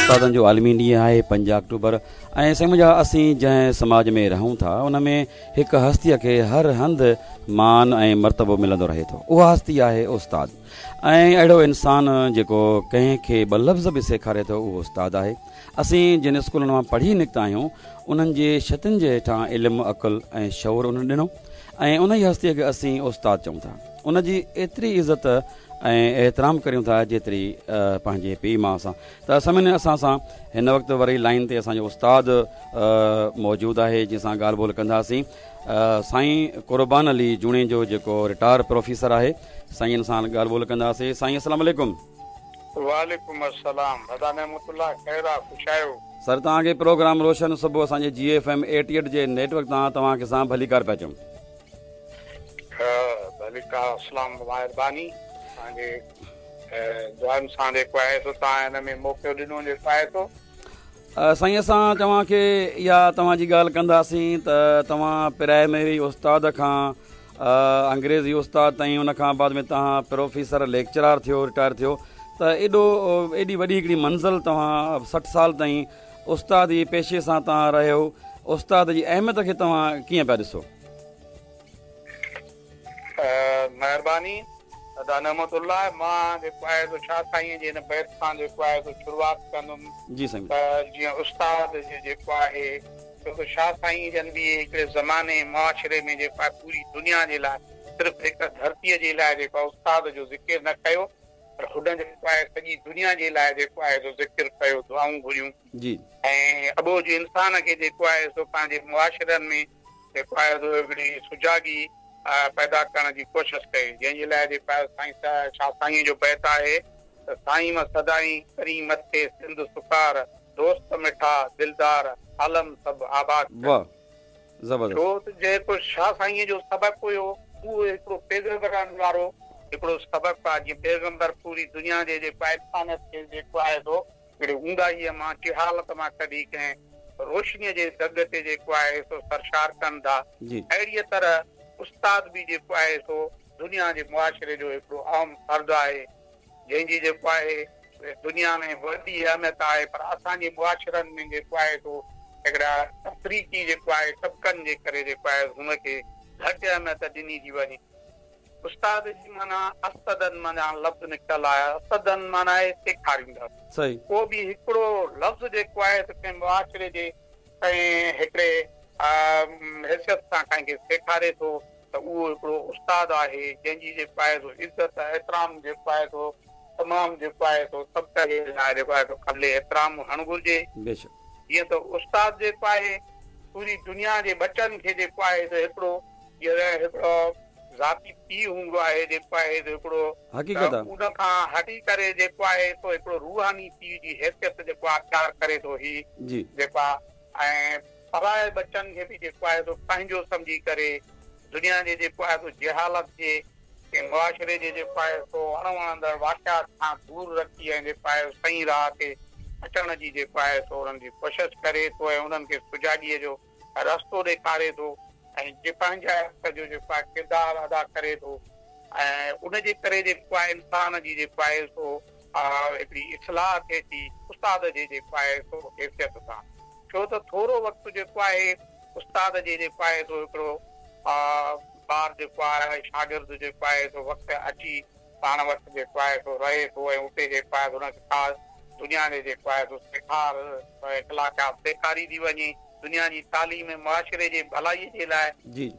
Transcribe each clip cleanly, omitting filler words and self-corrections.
استادن جو عالمي ڏينهن آهي 5 آڪٽوبر ۽ سائين منهنجا اسين جنهن سماج ۾ رهون ٿا ان ۾ هڪ هستيء کي هر هنڌ مان ۽ مرتبو ملندو رهي ٿو اها هستي آهي استاد ۽ اهڙو انسان جيڪو ڪنهن کي ٻه لفظ به سيکاري ٿو اهو استاد آهي اسين جن اسڪولن مان پڙهي نڪتا آهيون انهن جي ڇتن جي هيٺان علم عقل ۽ شعور انهن ڏنو ۽ انهي هستيء کي اسين استاد چئون ٿا ان جي ايتري عزت ۽ احترام ڪريون ٿا جيتري پنهنجي پيء ماء سان ته سامعين اسان سان هن وقت وري لائين تي اسان جو استاد موجود آهي جنهن سان ڳالهه ٻولهه ڪنداسين سائين قربان علي جوڻيجو جيڪو رٽائر پروفيسر آهي سائين سان ڳالهه ٻولهه ڪنداسين سائين السلام عليڪم. وعليڪم السلام ادا نعمت الله خير آ خوش آهيو. سر توهان کي پروگرام روشن صبح اسان جي جي ايف ايم 88 جي نيٽ ورڪ تان توهان کي سان ڀليڪار پيا چئون. ڀليڪار اسلام مهرباني توهان جي دعائن سان جيڪو آهي سو توهان هن ۾ موقعو ڏنو جيڪو آهي سو. سائين اسان توهان کي اها توهان جي ڳالهه ڪنداسين ته توهان پرائمري استاد کان انگريزي استاد تائين ان کان بعد ۾ توهان پروفيسر ليڪچرار ٿيو رٽائر ٿيو ته ايڏو ايڏي وڏي هڪڙي منزل توهان 60 سال تائين استاد جي پيشي سان توهان رهيو استاد جي اهميت کي توهان ڪيئن پيا ڏسو؟ مهرباني ادا نعمت الله مان جيڪو آهي سو شاهه سائين جي هن بيت سان جيڪو آهي سو شروعات ڪندم جي سائين ته جيئن استاد جي جيڪو آهي ڇو ته شاهه سائين جن به هڪڙي زماني معاشري ۾ جيڪو آهي پوري دنيا جي لاء صرف هڪ ڌرتيء جي لاء جيڪو آهي استاد جو ذڪر نه ڪيو پر هن جيڪو آهي سڄي دنيا جي لاء جيڪو آهي سو ذڪر ڪيو دعائون گهريون جي ۽ اٻوجهه انسان کي جيڪو آهي سو پنهنجي معاشرن ۾ جيڪو آهي سو هڪڙي سجاڳي پيدا ڪرڻ جي ڪوشش ڪئي، جنهن جي لاء جيڪو آهي سائين شاهه سائينء جو بيت آهي ته سائين م سدائين ڪرين مٿي سنڌ سڪار، دوست مٺا دلدار عالم سڀ آباد ڪر. واھ زبردست. ڇو ته جيڪو شاهه سائينء جو سبق هيو اهو هڪڙو پيغمبرن وارو هڪڙو سبق آهي، جيئن پيغمبر پوري دنيا جي جيڪو آهي انسانيت کي جيڪو آهي سو هڪڙي اونداهيء مان، جهالت مان ڪڍي ڪنهن روشنيء جي دڳ تي جيڪو آهي سو سرشار ڪن ٿا. اهڙيء طرح استاد به جيڪو آهي سو دنيا جي معاشري جو هڪڙو اهم فرد آهي، جنهن جي جيڪو آهي دنيا ۾ وڏي اهميت آهي، پر اسان جي معاشرن ۾ جيڪو آهي سو هڪڙا تفريقي جيڪو آهي طبقن جي ڪري جيڪو آهي هن کي گهٽ اهميت ڏني ٿي وڃي. استاد جي معنيٰ استدن منجهان لفظ نڪتل آهي. استدن معنيٰ آهي سيکاريندڙ. صحيح. ڪو به هڪڙو لفظ جيڪو آهي سو ڪنهن معاشري جي ڪنهن هڪڙي حيثيت سان ڪنهن کي سيکاري ٿو ته اهو هڪڙو استاد آهي، جنهن جي جيڪو آهي سو عزت احترام جيڪو آهي سو تمام جيڪو آهي سو طبقي جي لاء جيڪو آهي سو قابل احترام هئڻ گهرجي. بيشڪ. جيئن ته استاد جيڪو آهي پوري دنيا جي ٻچن کي جيڪو آهي سو هڪڙو جڏهن هڪڙو ذاتي پيء هوندو آهي جيڪو آهي سو هڪڙو حقيقت ته ان کان هٽي ڪري جيڪو آهي سو هڪڙو روحاني پيء جي حيثيت جيڪو آهي اختيار ڪري ٿو هي جي. جيڪو آهي ۽ پرائي ٻچن کي به جيڪو آهي سو پنهنجو سمجهي ڪري دنيا جي جيڪو آهي سو جهالت جي ۽ معاشري جي جيڪو آهي سو اڻ وڻندڙ واقعات کان دور رکي ۽ جيڪو آهي صحيح راهه تي اچڻ جي جيڪو آهي سو انهن جي ڪوشش ڪري ٿو ۽ انهن کي سجاڳيء جو رستو ڏيکاري ٿو ۽ جي پنهنجائپ جو جيڪو آهي ڪردار ادا ڪري ٿو ۽ ان جي ڪري جيڪو آهي انسان جي جيڪو آهي سو هڪڙي اصلاح ٿئي ٿي استاد جي جيڪو آهي سو حيثيت سان ڇو ته ٿورو وقت جيڪو آهي استاد جي جيڪو آهي سو هڪڙو ٻار جيڪو آهي شاگرد جيڪو آهي سو وقت اچي پاڻ وٽ جيڪو آهي سو رهي ٿو ۽ اتي جيڪو آهي سو ان کي ڪا دنيا جي جيڪو آهي سو سيکار اخلاقيات سيکاري ٿي وڃي دنيا جي تعليم ۽ معاشري جي ڀلائي جي لاء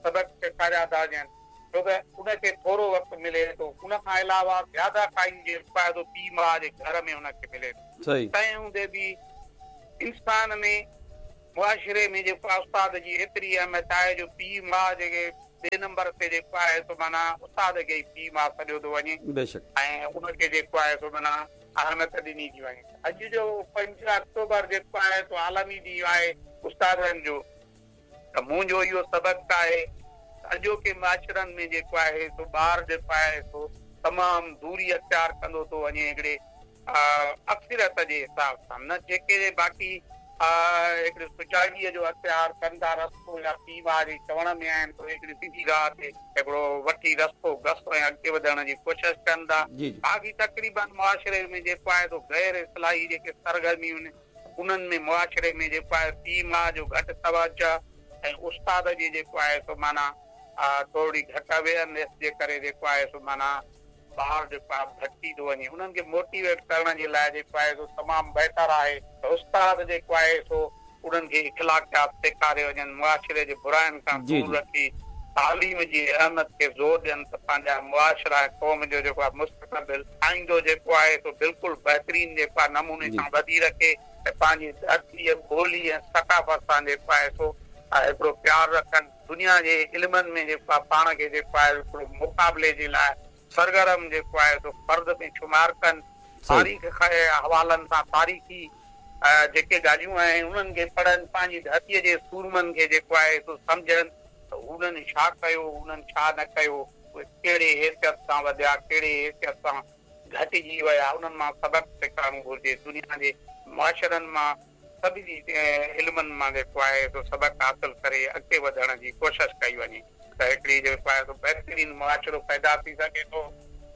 سبق سيکاريا ٿا وڃن ڇو ته ان کي ٿورو وقت ملي ٿو ان کان علاوه زياده ٽائيم جيڪو آهي سو پيء ماء جي گهر ۾ ان کي ملي ٿو تنهن هوندي به انسان ۾ معاشري ۾ جيڪو آهي استاد جي ايتري اهميت آهي جو پيء ماء جيڪي ٻئي نمبر تي جيڪو آهي سو معنيٰ استاد کي ئي پيء ماء سڏيو ٿو وڃي ۽ ان کي جيڪو آهي سو معنيٰ اهميت ڏني ٿي وڃي. اڄ جو 5 آڪٽوبر جيڪو آهي سو عالمي ڏينهن آهي استادن جو ته منهنجو اهو سبق آهي ته اڄوڪي معاشرن ۾ جيڪو آهي سو ٻار جيڪو آهي سو تمام دوري اختيار ڪندو ٿو وڃي هڪڙي اڪثريت جي حساب سان نه جيڪي باقي هڪڙي سجاڳيء جو اختيار ڪن ٿا رستو يا پيء ماء جي چوڻ ۾ آهن ته هڪڙي سڌي راهه تي هڪڙو وٺي رستو گس ۽ اڳتي وڌڻ جي ڪوشش ڪن ٿا. باقي تقريبن معاشري ۾ جيڪو آهي سو غير اصلاحي جيڪي سرگرميون آهن انهن ۾ معاشري ۾ جيڪو آهي پيء ماء جو گهٽ توجه ۽ استاد جي جيڪو آهي سو معنيٰ ٿورڙي گهٽ اويئرنيس جي ڪري جيڪو آهي سو معنيٰ ٻار جيڪو آهي ڀٽڪي ٿو وڃي انهن کي موٽيويٽ ڪرڻ جي لاء جيڪو آهي سو تمام بهتر آهي ته استاد جيڪو آهي سو انهن کي اخلاقيات سيکاري وڃن معاشري جي براين کان دور رکي تعليم جي اهميت کي زور ڏين ته پنهنجا معاشرا ۽ قوم جو جيڪو آهي مستقبل آئيندو جيڪو آهي سو بلڪل بهترين جيڪو آهي نموني سان ٻڌي رکي ۽ پنهنجي ڌرتي ٻولي ۽ ثقافت سان جيڪو آهي سو هڪڙو پيار رکن. دنيا جي علمن ۾ جيڪو آهي پاڻ کي جيڪو آهي هڪڙو مقابلي جي لاء سرگرم جيڪو آهي سو فرد ۾ شمار ڪن. تاريخ کي حوالن سان تاريخي جيڪي ڳالهيون آهن انهن کي پڙهن، پنهنجي ڌرتيء جي سورمن کي جيڪو آهي سو سمجهن ته انهن ڇا ڪيو، انهن ڇا نه ڪيو، اهي ڪهڙي حيثيت سان وڌيا، ڪهڙي حيثيت سان گهٽجي ويا، انهن مان سبق سکڻ گهرجي. دنيا جي معاشرن مان سڀني علمن مان جيڪو آهي سو سبق حاصل ڪري اڳتي وڌڻ جي ڪوشش ڪئي وڃي ته هڪڙي جيڪو آهي سو بهترين معاشرو پيدا ٿي سگهي ٿو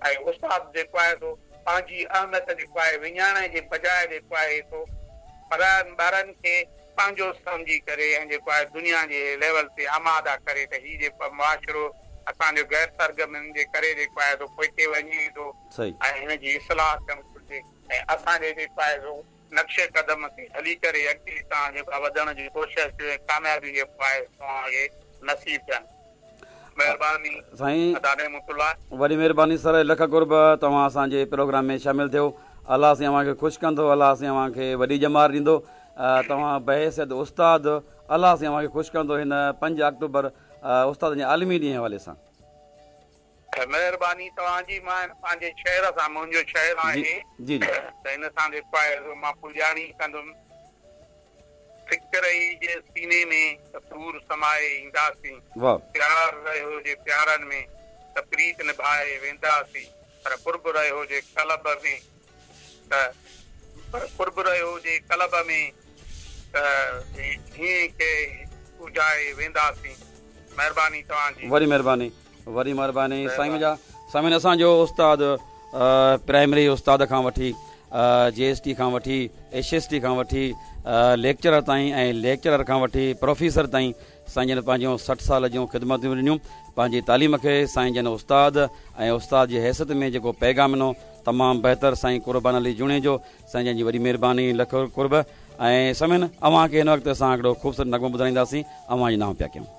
۽ استاد جيڪو آهي سو پنهنجي اهميت جيڪو آهي وڃائڻ جي بجاء جيڪو آهي سو پراين ٻارن کي پنهنجو سمجهي ڪري ۽ جيڪو آهي دنيا جي ليول تي آماده ڪري ته هي جيڪو آهي معاشرو اسان جو غير سرگرمين جي ڪري جيڪو آهي سو پوئتي وڃي ٿو ۽ هن جي اصلاح ٿيڻ گهرجي ۽ اسان جي جيڪو آهي سو نقش قدم تي هلي ڪري اڳتي توهان جيڪو آهي وڌڻ جي ڪوشش ڪيو ۽ ڪاميابيون جيڪو آهي توهان کي نصيب ٿين. مهرباني سائين ادا نعمت الله. وڏي مهرباني سر لک قرب توهان اسان جي پروگرام ۾ شامل ٿيو الله سائين اوهان کي خوش ڪندو الله سائين اوهان کي وڏي ڄمار ڏيندو توهان بحيثيت استاد الله سائين اوهان کي خوش ڪندو هن پنج آڪٽوبر استادن جي عالمي ڏينهن حوالي سان. مهرباني توهان جي مان هن پنهنجي شهر سان منهنجو شهر آهي جي جي ته هن سان جيڪو آهي سو مان پڄاڻي ڪندم فڪر ئي جي سيني ۾ ته سور سمائي اينداسين پيار رهيو جي پيارن ۾ ته پريت نڀائي وينداسين پر قرب رهيو جي قلب ۾ ته پر قرب رهيو جي قلب ۾ ته هينئين کي اجهائي وينداسين مهرباني توهان جي. وڏي مهرباني. وڏي مھرباني سائين منھنجا سامعين اسان جو استاد پرائمري استاد کان وٺي جي ايس ٽي کان وٺي ايس ايس ٽي کان وٺي ليڪچرر تائين ۽ ليڪچرر کان وٺي پروفيسر تائين سائين جن پنهنجون 60 سال جون خدمتون ڏنيون پنهنجي تعليم کي سائين جن استاد ۽ استاد جي حيثيت ۾ جيڪو پيغام ڏنو تمام بهتر سائين قربان علي جوڻيجو سائين جن جي وڏي مهرباني لک قرب ۽ سامعين اوهان کي هن وقت اسان هڪڙو خوبصورت نغمو ٻڌائينداسين اوهان جي نانء پيا ڪيون.